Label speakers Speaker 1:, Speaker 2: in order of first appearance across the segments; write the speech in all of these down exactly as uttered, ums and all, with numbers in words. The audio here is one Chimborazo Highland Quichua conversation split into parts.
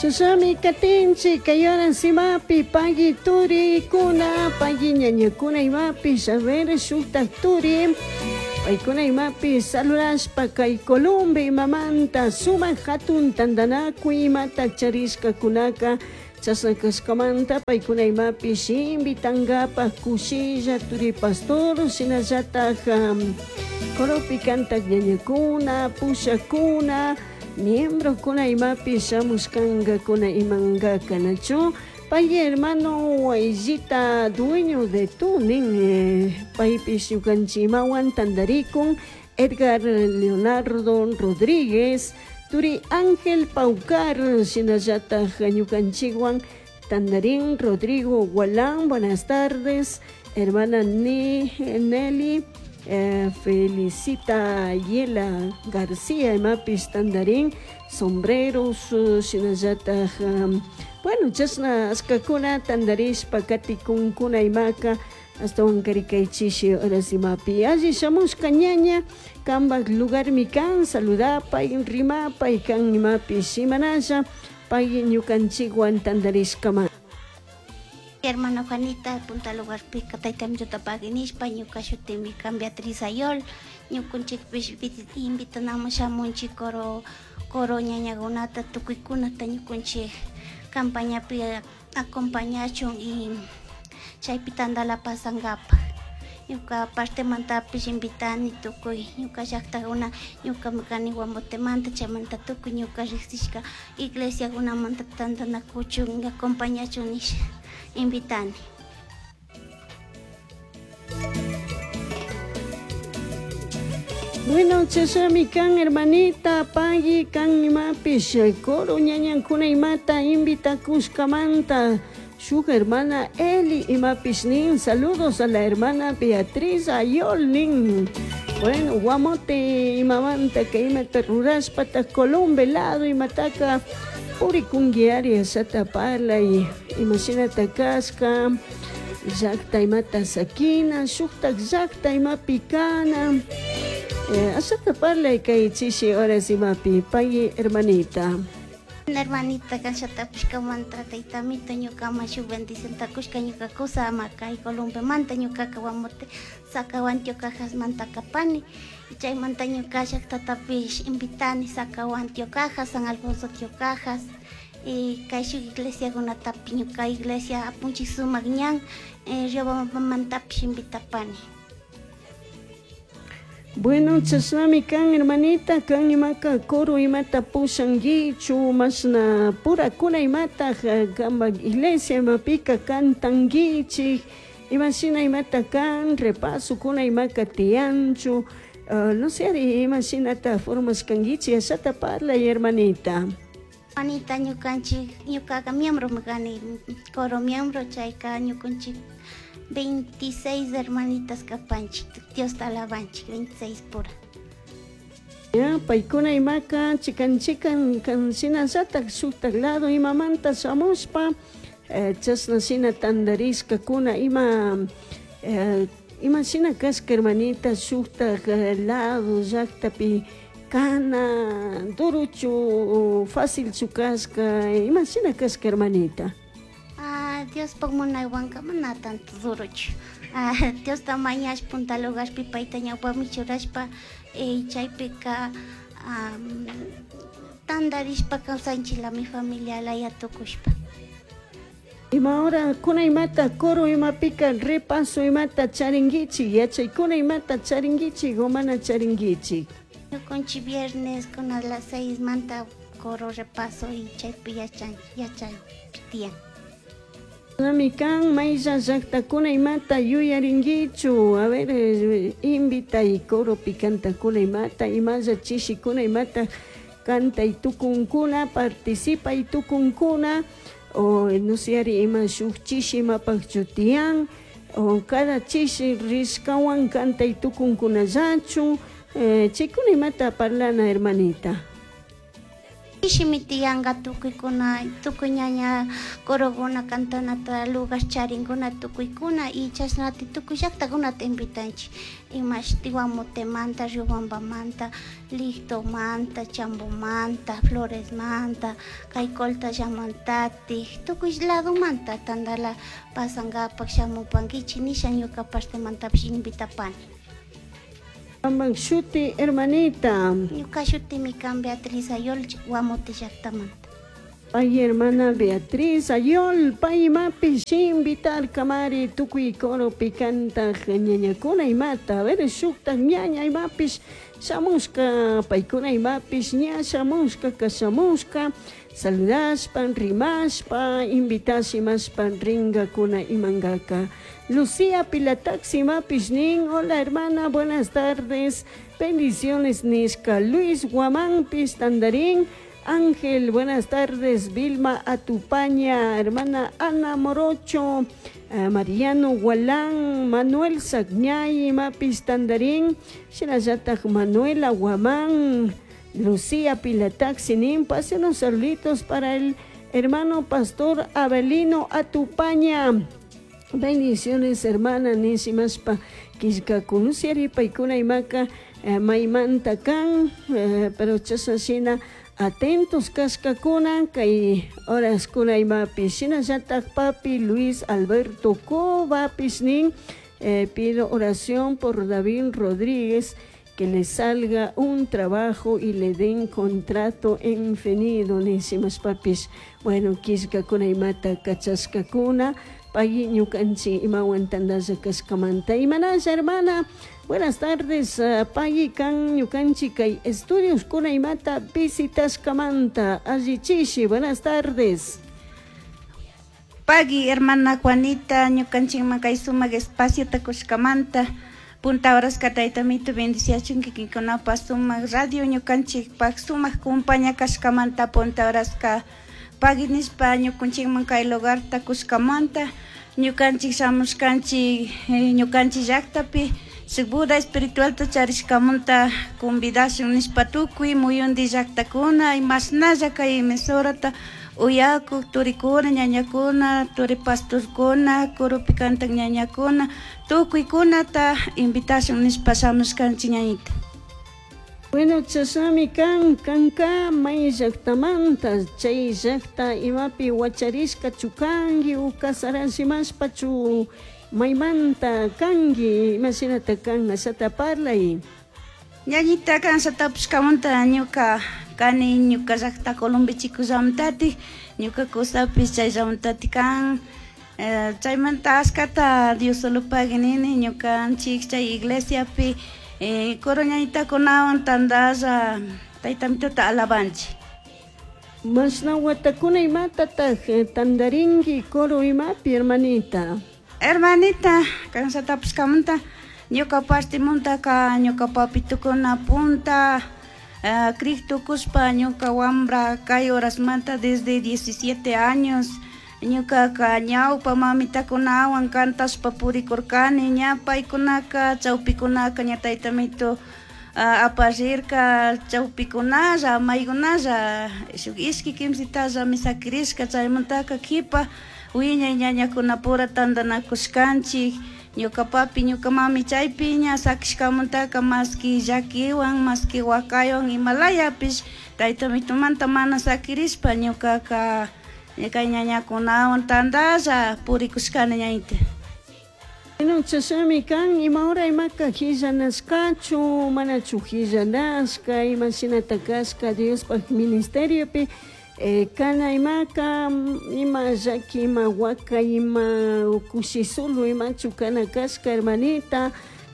Speaker 1: Chashami katinchi kay horas imapi pagui turikuna pagui ñañakuna imapish a ver shuktak turi paykuna imapi saludashpa kay Colombia imamanta sumak hatun tantanakuy imata charishkakunaka chashna kashkamanta paykuna imapish invitankapaj kushilla turi pastor shinallatak um, coropi kantak ñañakuna pushakuna miembrokuna imapi shamushkankakuna imankaka nachu pay hermano Wayllita dueño de Tunin eh, paypish ñukanchik imawan tantarikun Edgar Leonardo Rodríguez turi Ángel Paucar shinallatak ñukanchikwan tantarin Rodrigo Gualán buenas tardes hermana Ni Nelly eh, Felicita Yela García imapish tantarin sombreros shinallatak um, bueno chashna ashkakuna tantarishpa katikunkuna imaka ashtawan kay chishi horas imapi alli shamushka ñaña kanpak lugarmi kan saludapay rimapay kan imapish imanasha pay ñukanchikwan tantarishkama.
Speaker 2: Hermana Juanita, punta lugarpika tayta pagui nishpa ñuka shutimi kan Beatriz Ayol ñukunchikpish invitanamun shamunchik coro coro ñañakunata tukuykunata ñukunchik campañapi acompañachun y chaypi tantala pasankapaj ñuka partemantapish invitani tukuy ñuka llaktakuna ñukami kani Guamotemanta chaymanta tukuy ñuka riksishka iglesiakunamanta tantanakuchun acompañachun nisha invitani.
Speaker 1: Bueno, chashami kan hermanita pagui kan imapish coro ñañankuna imata invitakushkamanta shuk hermana Eli imapish nin saludos a la hermana Beatriz Ayol nin bueno Guamote imamanta kay imata rurashpata Colombe lado imataka purikunki ashata parlay imashinata kashka llakta imata sakina shuktak llakta imapi kana eh, ashata parlay kay chishi horas imapi pagui hermanita.
Speaker 2: Hermanita kanshatapish kamanta taytamito ñukaman shuk bendicionta kushka ñuka kusa ama kay Colombemanta ñukaka Guamote Sacahuan Tiocajas-manta kapani chaymanta ñuka llaktatapish invitani Sacahuan Tiocajas, San Alfonso Tiocajas y kay shuk iglesiakunatapish ñuka iglesia Apunchik Sumak Ñan eh, Riobambamantapish invitapani.
Speaker 1: Bueno, chashnami kan hermanita, kan imaka coro imata pushankichu, mashna purakuna imata kanpak iglesia imapika kantankichik, imashina imata kan repasokuna imaka tiyanchu, uh, no sé imashinata formashkankichik ashata parlay hermanita.
Speaker 2: Hermanita ñukanchik ñukaka miembro kani coro miembro chayka ñukanchik veintiséis hermanitas kapanchik, Dios alabanchik, veintiséis pura.
Speaker 1: Ya, paykuna imaka chikan chikan kan shinallatak shuktak lado imamanta shamushpa eh, chashna shina tantarishkakuna ima eh, ima shina kashka hermanita shuktak lado llaktapi kana duruchu facilchu kashka ima shina kashka hermanita.
Speaker 2: Ah, Diospaj munaywanka mana tanto duruchu. Ah, Diosta mañash punta lugarpi payta ñawpami churashpa eh, chaypika um, tantarishpa kawsanchilami familia laya tukushpa.
Speaker 1: Ima hora kuna imata coro imapika repaso imata charinkichik yachaykuna imata charinkichik o mana charinkichik.
Speaker 2: Ñukanchik viernes con a las seis manta coro repaso y chaypi yachan yachay tiyan.
Speaker 1: Nami kan maylla llaktakuna imata yuyarinkichu a ver eh, invitay coropi kantakuna imata imalla chishikuna imata kantay tukunkuna participay tukunkuna o no sé ari ima shuk chishi imapakchu tiyan o cada chishi rishkawan kantay tukunkunallachu eh, chaykuna imata parlana hermanita.
Speaker 2: Ishimi tiyanka tukuykuna tukuy ñaña corokuna cantanata lugar charinkuna tukuykuna y chashnati tukuy llaktakunata invitanchik imashti Guamotemanta, Riobambamanta, Lictomanta, Chambomanta, Floresmanta, kay Coltallamantatik tukuy ladomanta tantala pasankapak shamupankichik nisha ñuka partemantapish invitapani.
Speaker 1: Kampak shuti hermanita.
Speaker 2: Ñuka shutimi kan Beatriz Ayol Guamote llaktamanta.
Speaker 1: Pay hermana Beatriz Ayol, pay imapish invitarkamari tukuy coropi kantak ñañakuna imata, a ver shuktak ñaña imapish shamushka, paykuna imapish ña shamushka kashamushka, saludashpa, rimashpa, invitash imashpa ringakuna imankaka. Lucía Pilataxi imapish nin, hola hermana, buenas tardes, bendiciones nishka. Luis Guamánpish tandarín, Ángel, buenas tardes, Vilma Atupaña, hermana Ana Morocho, eh, Mariano Gualán, Manuel Sagñay, imapis tandarín, shinallatak Manuela Guamán, Lucía Pilataxi nin, pase unos saluditos para el hermano pastor Abelino Atupaña. Bendiciones, hermana, nishimashpa killkakunusiari paykuna imaka eh, maymanta kan, eh, pero chashna atentos kashkakuna kay horaskuna imapish shinallatak papi Luis Alberto Covapish nin, eh, pido oración por David Rodríguez, que le salga un trabajo y le den contrato indefinido, nishimashpapish. Bueno, killkakuna imata kachashkakuna, pay ñukanchik imawan tantalla kashkamanta. Imanalla, hermana, buenas tardes, uh, pay kan ñukanchik kay estudios kuna imata visitashkamanta, allichishi, buenas tardes.
Speaker 3: Pagui, hermana Juanita, ñukanchikman kay sumak espaciota kushkamanta, punta horaska taytamito bendiciachun kikinkunapa sumak radio ñukanchikpak sumak compañía kashkamanta punta horaska pagui nishpa ñukanchikman kay lugarta kushkamanta, ñukanchik shamushkanchik eh, ñukanchik llaktapi shuk Buda espiritualta charishkamanta convidashun nishpa tukuy muyundi llaktakuna imashnalla kay emisorata uyakuk turikuna, ñañakuna, turi pastorkuna, corupi kantak ñañakuna, tukuykunata invitashun nishpa shamushkanchik ñañita.
Speaker 1: Bueno, chashami kan, kanka may llaktamanta, chay llakta imapi wacharishka kanki u kasarashimashpachu maymanta kanki, imashinata kan, ashata parlay.
Speaker 3: Ñañita kan shatapushkamanta ñuka kani ñuka llakta Colombia Chico llamantatik, ñuka kusapish chay llamantatik kan, eh, chaymanta ashkata Dios solo pagui nini ñukanchik chay iglesiapi eh, coro ñañitakunawan tantalla taytamituta alabanchik.
Speaker 1: Mashna watakuna imatatak tandarinki coro imapi, hermanita?
Speaker 3: Hermanita, kan shatapushkamanta ñuka partimantaka ñuka papitukuna punta uh, crik tukushpa ñuka wambra kay horasmanta desde diecisiete años ñukaka ñawpa mamitakunawan kantashpa purikurkani, ña paykunaka chawpikunaka ña taytamito uh, aparirka chawpikunalla maykunalla shuk ishki kimsitallami sakirishka, chaymantaka kipa wiñay ñañakunapura tantanakushkanchik ñuka papi ñuka mami chaypi ña sakishkamantaka maski llakiwan maski wakaywan imalayapish taytamitumanta mana sakirishpa ñukaka kay ñañakunawan tantalla purikushkani ñañita.
Speaker 1: Bueno, chashami kan, ima hora imaka hillanashkachu, manachu hillanashka, imashinata kashka Diospaj ministeriopi, eh, kana imaka, ima llaki, ima waka, ima kushisulu, imachu kana kashka, hermanita,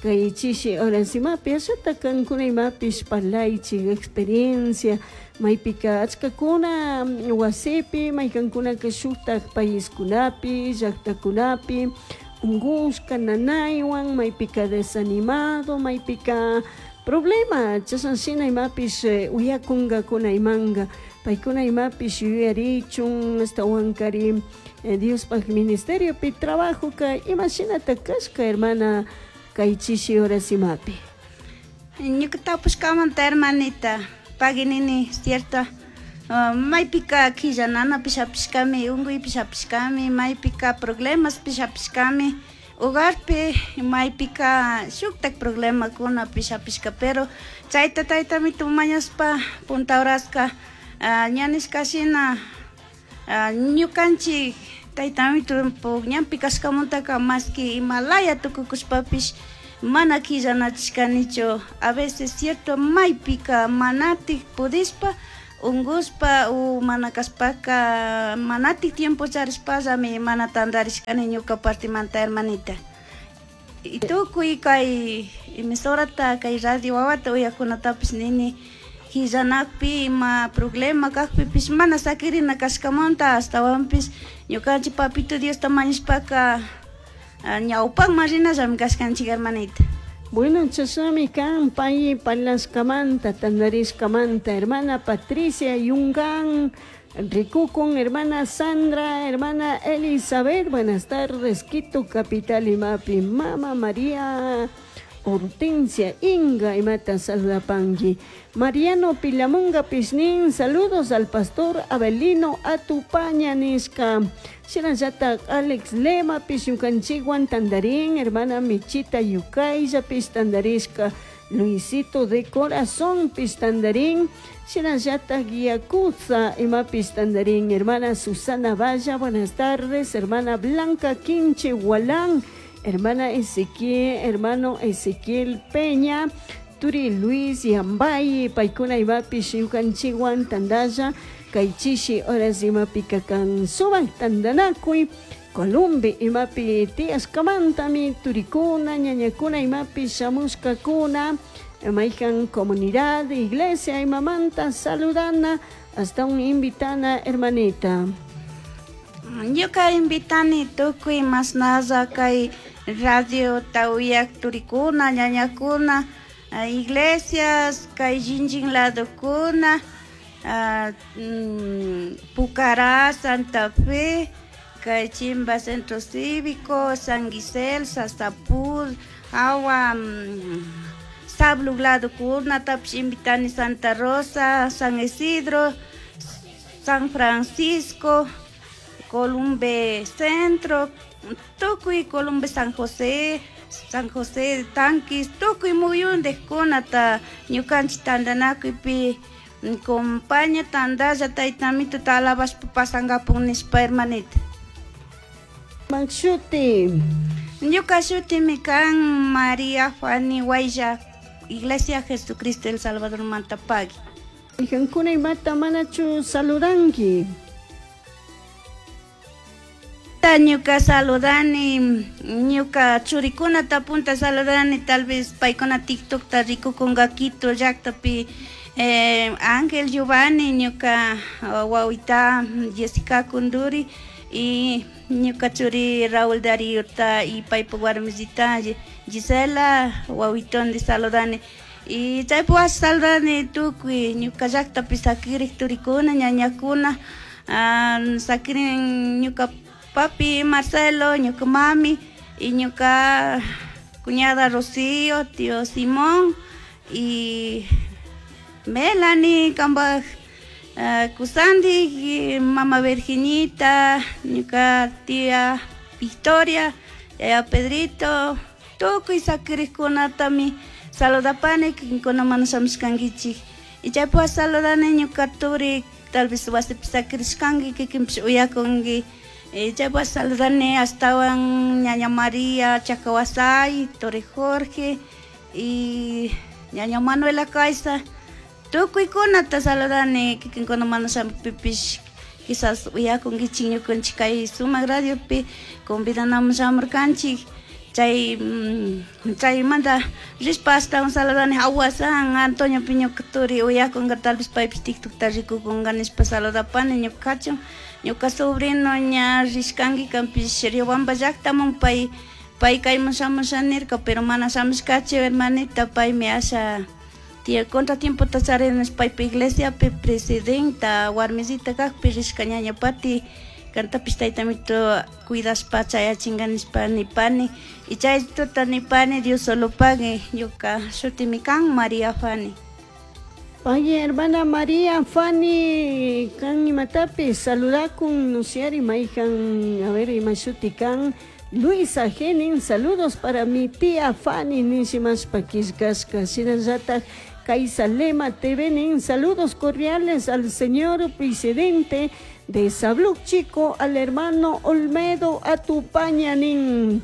Speaker 1: kay chishi horas imapi, ashata kankuna imapish parlaychik experiencia, maypika achkakuna wasipi, maykankunaka shuktak paiskunapi, llaktakunapi, ungushka nanaywan, maypika desanimado, maypika problema, chashan shina imapish uyakunkakuna imanka, paykuna imapish yuyarichun, ashtawankari eh, Diospaj ministeriopi trabajoka imashinata kashka, hermana, kay chishi horas imapi.
Speaker 3: Ñuka tapushkamanta, hermanita, pagui nini, cierto, Uh, maypika quillananapish hapishkami, unkuypish hapishkami, maypika problemaspish hapishkami, hogarpi maypika shuktak problemakunapish hapishka, pero chayta taytamito mañashpa punta horaska uh, ña nishkashina uh, ñukanchik taytamito ñanpi kashkamantaka maski imalaya tukukushpapish mana quillanachishkanichu. A veces cierto maypika manatik pudishpa ungushpa u mana kashpaka manatik tiempo charishpallami mana tantarishkani ñuka partimanta, hermanita. Y tukuy kay emisorata kay radio wawata uyakunatapish nini quillanakpi ima problema kakpipish mana sakirina kashkamanta, ashtawanpish ñukanchik papito Diosta mañashpaka ñawpakman rinallami kashkanchik, hermanita.
Speaker 1: Bueno, chashnami kan pay parlashkamanta, tantarishkamanta, hermana Patricia Yungan, rikukun, hermana Sandra, hermana Elizabeth, buenas tardes, Quito capital imapi, mama María Hortensia Inga imata saludapanki. Mariano Pilamunga Pisnin, saludos al pastor Abelino Atupaña nishka. Shinallata Alex Lema pish ñukanchikwan tandarin, hermana Michita Yukaylla pish tandarishka, Luisito de Corazón pish tandarin, shinallata Yakuza imapish tandarin, hermana Susana Valla, buenas tardes, hermana Blanca Quinche Gualán, hermana Ezequiel, hermano Ezequiel Peña, Turi Luis Yambay, paykuna imapish ñukanchikwan tandalla, kay chishi horas imapi kakan sumak tandanakuy, Columbi imapi tiyashkamantami turikuna, ñañakuna imapi shamushkakuna, mayhan comunidad, iglesia imamanta saludana, hasta un invitana hermanita.
Speaker 3: Ñuka invitani tukuy mashnalla kay radio uyak turikuna, ñañakuna, iglesias, kay shinlli ladokuna, uh, mm, Pucará, Santa Fe, kay Chimba Centro Cívico, San Gisel, Sastapur, Agua, mm, Sablug ladokuna, tapish invitani Santa Rosa, San Isidro, San Francisco, Columbe Centro, tukuy Columbe San José, San José de Tanquis, tukuy muyundikkunata ñukanchik tantanakuypi compaña tandalla taytamito alabashpa pasankapun nishpa, hermanita.
Speaker 1: Shuti.
Speaker 3: Ñuka shutimi kan María Fanny Guaylla, Iglesia Jesucristo el Salvador Mantapagui.
Speaker 1: Mayhankuna imata manachu saludanki.
Speaker 3: Ñuka saludani, ñuka churikunata punta saludani, tal vez paykuna TikTokta rikukunka Quito llaktapi, eh, Ángel Giovanni, ñuka wawita Jessica Kunduri y ñuka churi Raúl Daríota y paypak warmisita Gisela wawitondi saludani. Y chaypi saludani tukuy ñuka llaktapi sakirik turikuna, ñañakuna, uh, sakirin ñuka papi Marcelo, ñuka mami y ñuka cuñada Rocío, tío Simón y Melanie, kambaj uh, kusandi, y mamá Virginita, ñuka tía Victoria, yaya Pedrito, tukuy sakirikkunatami saludapani, kikinkuna mana shamushkankichik. Y chaypi saludani ñuka turi, tal vez wasipi sakirishkanki, kikinpish uyakunki. Chaypi saludani ashtawan ñaña María Chacawasay, Tore Jorge y ñaña Manuela Caiza. Tukuykunata saludani, kikinkuna mana shamukpipish quizás uyakunkichik ñukanchik kay sumak radiopi convidanamun shamurkanchik. Chay chaymanta rishpa ashtawan saludani Awasan Antonio ñuka turi uyakunka, tal vez paypish TikTokta rikukunka nishpa saludapani ñuka kachun. Ñuka sobrino ña rishkanki kanpish Riobamba llaktaman, pay pay kayman shamusha nirka, pero mana shamushkachu, hermanita, paymi asha contratiempota charin paypa iglesiapi presidenta warmisita kakpi rishka ñaña Pati, kantapish taytamito cuidashpa chayachinka nishpa nipani. Y chay tuta nipani Dios solo pague, ñuka shutimi kan María Fanny.
Speaker 1: Pay hermana María Fanny kan imatapis saludakun nusiari mayhan a ver imashuti kan Luisa Genin saludos para mi tía Fanny nishimashpa killkashka shinallatak Kaisalema TV nin saludos cordiales al señor presidente de Sabluc Chico al hermano Olmedo Atupaña nin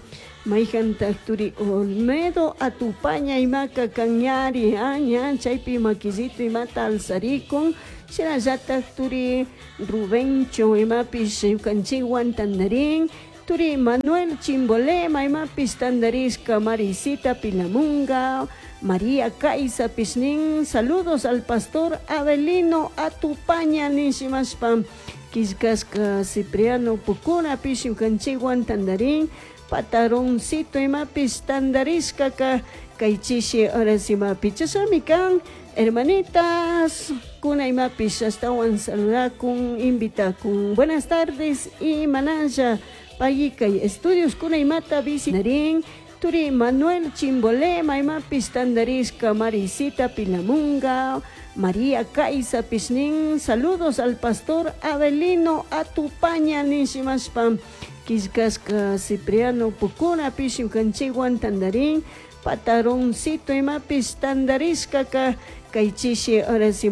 Speaker 1: mayhantak turi Olmedo Atupaña imaka kanñari ña chaypi makillito imata alzarikun shinallatak turi Rubencho imapish ñukanchikwan tandarin turi Manuel Chimbolema imapish tandarishka Marisita Pilamunga María Kaisa nin saludos al pastor Abelino Atupaña nishimashpa killkashka Cipriano Pucunapish ñukanchikwan tandarin pataroncito imapish tandarishkaka kay chishi horas imapi chashami kan hermanitas kuna imapish ashtawan saludakun invitakun buenas tardes y manalla payikay estudios kuna imata visitarin turi Manuel Chimbolema imapish tandarishka Marisita Pilamunga María Kaisa nin saludos al pastor Abelino Atupaña nishimashpa killkashka Cipriano Pucunapish ñukanchikwan tandarin pataroncito imapish tandarishkaka kay chishi horas